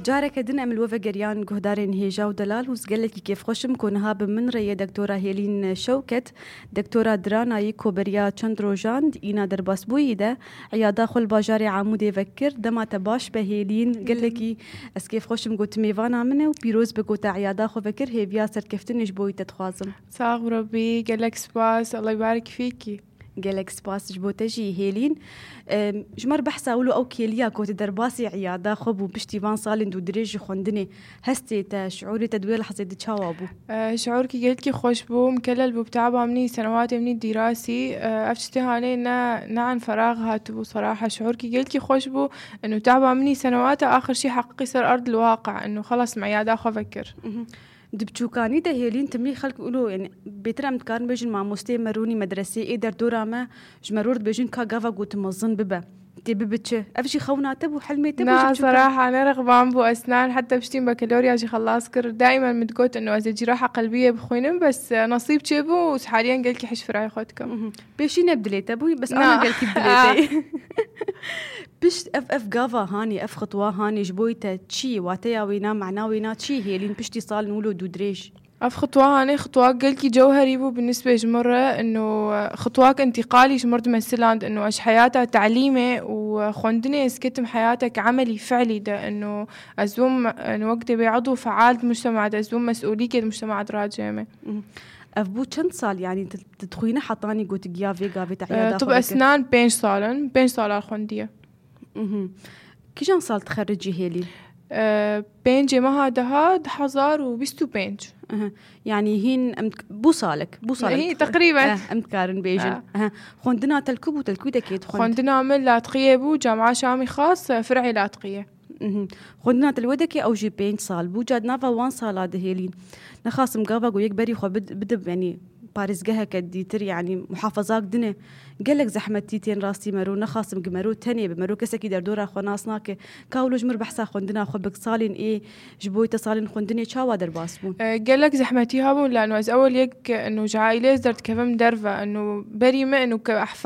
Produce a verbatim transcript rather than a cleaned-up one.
Careke din em li we vegeriyan guhdarên hêja û delal û gelekî kêfxweş im ku niha bi min re ye Doktora Hêlîn Şewket, Doktora Diranayî, ku beriya çend rojan di îna derbasbûyî de eyada xwe li bajarê Amûdê vekir. Dema te baş be Hêlîn, gelekî ez kêfxweş im ku tu mêvana min e û pîroz be ku te eyada xwe vekir, hêviya serkeftinê ji bo wî te dixwazim. Sax û rebî, gelek spas, Allah yibarik fîkî. Gelek spas ji bo te jî Hêlîn. Em, ji me re behsa wilo ew kêliya ku tu derbasî îyada xwe bû piştî van salên dûdirêj ji xwendinê, hestê te, şiûrê te di wê lehzê de çawa bû? E, şiûrkî gelkî xweş bû, mikelel bû bi taba min î, senewatê min î dîrasî. E, ev tiştê hanê ne, ne an ferax hatibû seraha. Şiûrkî gelkî xweş bû, inu taba min î senewata axir şî heqîqî ser erd li waqe, inu xelas me îyada xwe vekir. Mhm. Di biçûkanî de Hêlîn timî xelk wilo, yani bêtir em dikarin bêjin mamosteyê me rûnî medreseyê ê derdora me ji me rû dibêjin ka gava ku tu mezin bibe. Tê bibi çi? Ev jî xewna te bû, helmê te bû ji Na, biçûkan? Seraha ne rexban bû Esnan, heta piştî bakalorya jî xelas kir. Daîmen min digot inu ez ê cîraha qelbiyê bixwînim, bes, e, nesîb çêbû û haliyen gelkî hişfirayê xwe dikim. Mhm. Pêşî ne bi dilê te bû, bes Na. ana gelkî bi dilê te. Pişt ev, ev gava hanê, ev xitwa hanê ji bo te çi ye? Wateya wêna, mana wêna çi ye Hêlîn piştî salên wilo dûdirêj? Ev xitwa hanê xitwa gelkî cewherî bû bi nisbê ji min re, inu, e, xitwak întîqalî ji min re dimesiland, inu ez ji heyata telîmê û, e, xwendinê ez ketim heyatek emelî, fiilî de, inu ez bûm, inu wek dê bê edû feal di mujtema de, ez bûm mesûlîkê di mujtema de racême. Mhm. Ev bû çend sal, yani tu, tu dixwîne hetanî ku tu giya vê gavê te E, eyada xwe vekir? Esnan pênc sal in, pênc sal xwendiye. Mhm. Kîjan sal tixericî Hêlîn? E, pêncê meha deha du hezar û bîst û pênc. Aha. Yani hîn em dik-, bû salek, bû salek Hî, dixwend-, teqrîben. Eh, em dikarin bêjin. Ha. Aha. Xwendina te li ku bû, te li ku dekê dixwend? Xwendina min Latqiyê bû, Camiya Şamî Xas, e, fir'ê Latqiyê. Mhm. Xwendina te li wê dekê ew jî pênc sal bû. Ca di nava wan sala de Hêlîn, nexasim gava ku yek berî xwe bid-, bidib, yani parêzgeheke dîtir, yani muhafazak din e. Gelek zehmetî tên rastî mero, nexasim ki mero tenê bi mero kesekî derdora xwe nas nake. Ka wilo ji mir behsa xwendina xwe bik salên ê ji bo te salên xwendinê çawa derbas bûn? E, gelek zehmetî hebûn, lano ez ewel yek, inu ji aîlê ez derdikevim derve, inu berî me, inu ke-,